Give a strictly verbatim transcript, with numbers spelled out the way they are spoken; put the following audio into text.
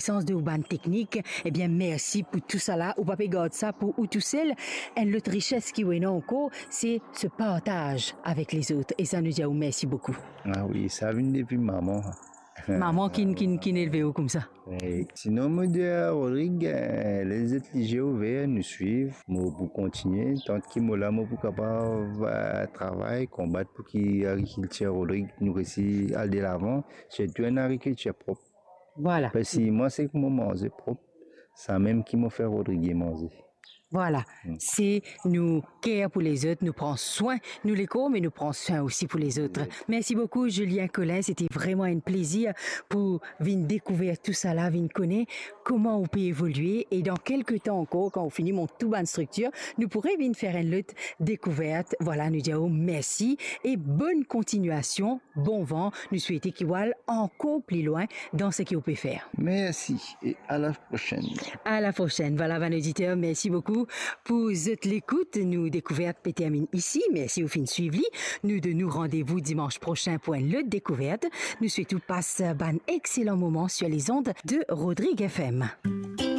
Sans de ou bann teknik, ebien, mersi pou tou sala. Ou pa pe gard sa pou ou tousel. Enn lot rises ki ou ena ankor, se se partaz avek lezot. E sa, nou dir ou mersi boukou. Ah wi, sa vinn depi mama. Mama ki, ki, ki elve ou koumsa. Wi. Sinon, mo dir Rodrig, eh, les zot lizie ouver, nou swiv. Mo pou kontigne, tanki mo la, mo pou kapav, eh, travay, konbat pou ki agrikiltir Rodrig nou resi al delavan, sirtou enn agrikiltir prop. Vwala. Parski mwa, seki mo manze prop, samem ki mo fer Rodrig manze. Vwala. Hmm. Se nou ker pou lezot, nou pran swin nou lekor, me nou pran swin osi pou lezot. Wi. Mersi boukou, Julien Collin. Sete vreman enn plezir pou vinn dekouver tou sala, vinn kone kouma ou pe evolie. E dan kelke tan ankor, kan ou fini mont tou bann striktir, nou pou revinn fer enn lot dekouvert. Vwala, nou dir ou mersi e bonn kontignasion. Bon van, nou swete ki ou al ankor pli lwin dan seki ou pe fer. Mersi e a la prosenn. A la prosenn. Vwala, bann oditer, mersi boukou pou zot lekout. Nou dekouvert pe terminn isi. Mersi ou finn swiv li. Nou donn ou randevou dimans prosin pou enn lot dekouvert. Nou swet ou pas bann exelan moman sir lezond de Rodrig F M.